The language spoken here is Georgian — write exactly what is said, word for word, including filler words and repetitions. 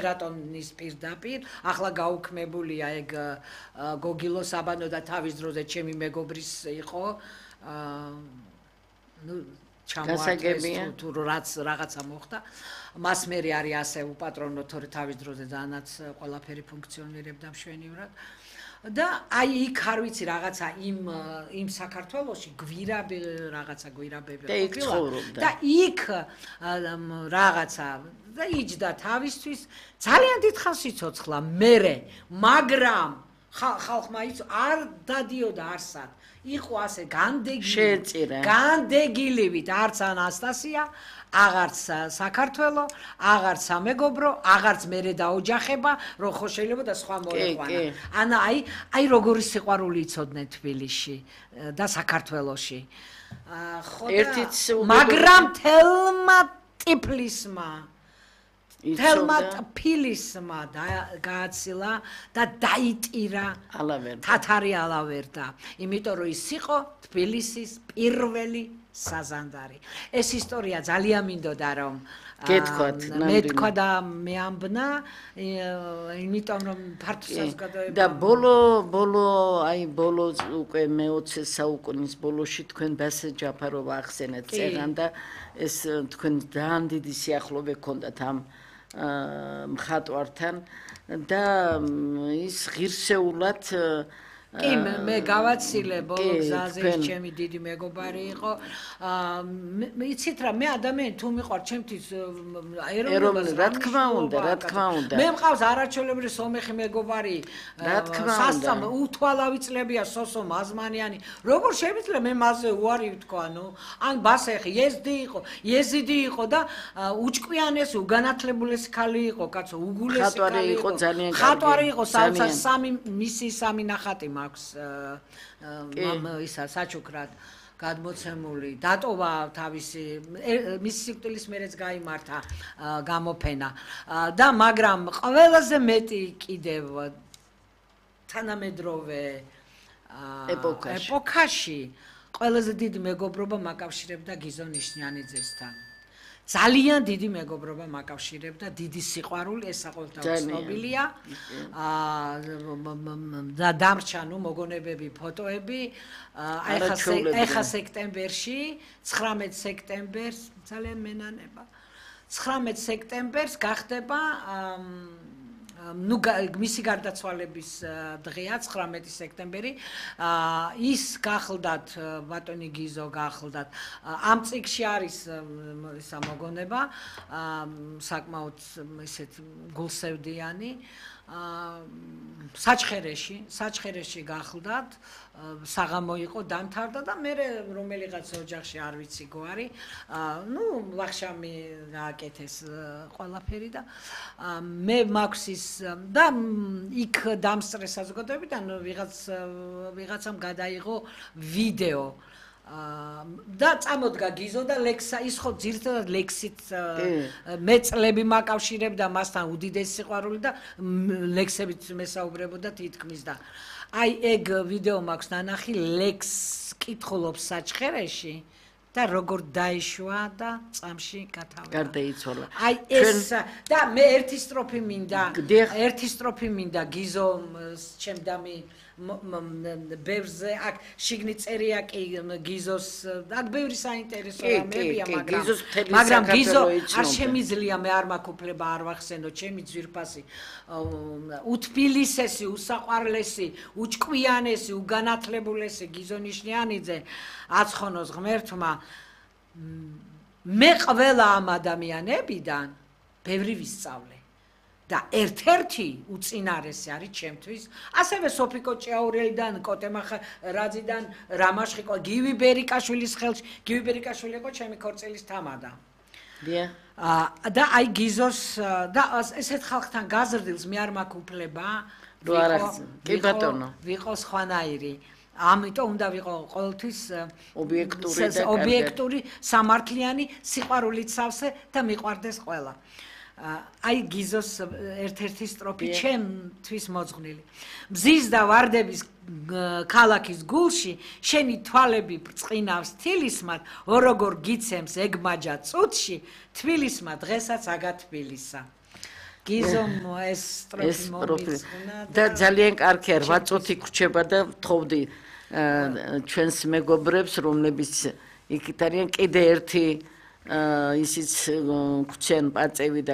რატონის პირდაპირ ახლა გაუქმებულია ეგ გოგილო საბანო და თავის დროზე ჩემი მეგობრის იყო ნუ ჩამოართვეს თუ რაც რაღაცა მოხდა მას მე არის ასე უპატრონო თორე თავის დროზე ძალიანაც ყველაფერი ფუნქციონირებდა მშვენივრად და აი იქ არ ვიცი რაღაცა იმ იმ საქართველოში გვირაბი რაღაცა გვირაბები ყოფილა და იქ რაღაცა და იჯდა თავისთვის ძალიან დიდ ხანს იცოცხლა მერე მაგრამ ხალხმა იცო არ დადიოდა არსად იყო ასე განდეგილი განდეგილივით არც ანასტასია აღარც საქართველო აღარც სამეგობრო აღარც მერე დაოჯახება რომ ხო შეიძლება და სხვა მოეყვანა ანა აი აი როგორი სიყვარული იცოდნენ თბილისში და საქართველოში ხო და მაგრამ თელმა ტიფლისმა თელმა ტფილისმა გააცილა და დაიტირა თათარი ალავერდა იმიტომ რომ ის იყო თბილისის პირველი საზანდარი ეს ისტორია ძალიან მინდოდა რომ გეთქვათ მეთქვა და მეამბნა იმიტომ რომ ფართო საზოგადოება და ბოლო ბოლო აი ბოლო უკვე მეოცე საუკუნის ბოლოში თქვენ ბასე ჯაფაროვა ახსენეთ წერან და ეს თქვენ ძალიან დიდი სიახლოვე გქონდათ ამ მხატვართან და ის ღირსეულად კი მე გავაცილე ბოლო გზაზე ჩემი დიდი მეგობარი იყო იცით რა მე ადამიანი თუ მიყვარ ჩემთვის ეროვნული რა თქმა უნდა რა თქმა უნდა მე მყავს არაჩვეულებრივი სომეხი მეგობარი რა თქმა უნდა უთვალავი წლებია სოსო მაზმანიანი როგორ შეიძლება მე მასზე უარი ვთქვა ნუ ან ბასეხი იეზდი იყო იეზიდი იყო და უჭკვიანესი უგანათლებულესი ქალი იყო კაცო უგულესი ქალი იყო ძალიან კარგი ხატვარი იყო სამი მისი სამი ნახატი აქვს ისა საჩუქრად გადმოცემული დატოვა თავისი მისი სიკვდილის მერეც გაიმართა გამოფენა და მაგრამ ყველაზე მეტი კიდევ თანამედროვე ეპოქაში ყველაზე დიდი მეგობრობა მაკავშირებდა გიზო ნიშნიანიძესთან ძალიან დიდი მეგობრობა მაკავშირებდა დიდი სიყვარული ეს საყოველთაოდ ცნობილია და დამრჩა ნუ მოგონებები ფოტოები ეხა სექტემბერში ცხრამეტ სექტემბერს ძალიან მენანება ცხრამეტ სექტემბერს გახდება ნუ მისი გარდაცვალების დღეა ცხრამეტი სექტემბერი ის გახლდათ ბატონი გიზო გახლდათ ამ წიგში არის ისა მოგონება საკმაოდ ისეთ გულსევდიანი საჩხერეში საჩხერეში გახლდათ საღამო იყო დამთავრდა და მე რომელიღაც ოჯახში არ ვიცი გვარი ნუ ვახშამი გააკეთეს ყველაფერი და მე მაქვს ის და იქ დამსწრე საზოგადოებიდან ვიღაც ვიღაცამ გადაიღო ვიდეო და წამოდგა გიზო და ლექსა ის ხო ძირითადად ლექსით მე წლები მაკავშირებდა მასთან უდიდესი სიყვარული და ლექსებით მესაუბრებოდა თითქმის და აი ეგ ვიდეო მაქვს ნანახი ლექს კითხულობს საჩხერეში და როგორ დაიშვა და წამში გათავდა. გარდაიცვალა. აი ეს და მე ერთი სტროფი მინდა, ერთი სტროფი მინდა გიზოს ჩემდამი ბევრზე აქ შიგნით წერია კი გიზოს აქ ბევრი საინტერესო რამებია მაგრამ მაგრამ გიზო არ შემიძლია მე არ მაქვს უფლება არ ვახსენო ჩემი ძვირფასი უთბილისესი უსაყვარლესი უჭკვიანესი უგანათლებულესი გიზო ნიშნიანიძე აცხონოს ღმერთმა მე ყველა ამ ადამიანებიდან ბევრი ვისწავლე და ერთ-ერთი უწინარესი არის ჩემთვის ასევე სოფიკო ჭიაურელიდან კოტემახ რაძიდან რამაშხიკო გივი ბერიკაშვილის ხელში გივი ბერიკაშვილი იყო ჩემი ქორწილის თამადა დიახ და აი გიზოს და ესეთ ხალხთან გაზრდილს მე არ მაქვს უფლება კი ბატონო ვიყო სხვანაირი ამიტომ უნდა ვიყო ყოველთვის ობიექტური და ობიექტური სამართლიანი სიყვარულით სავსე და მიყვარდეს ყველა აი გიზოს ერთ-ერთი სტროფი ჩემთვის მოძღვნილი მზის და ვარდების ქალაქის გულში შენი თვალები ბრწყინავს თილისმად ოროგორ გიცემს ეგ მაჯა წუთში თბილისმა დღესაც აგა თბილისა გიზომ ეს სტროფი მომიწყნა და ძალიან კარგია რვა წუთი გრჩება და ვთხოვდი ჩვენს მეგობრებს რომლებიც იქით არიან კიდე ერთი ისიც გვცენ პაწევი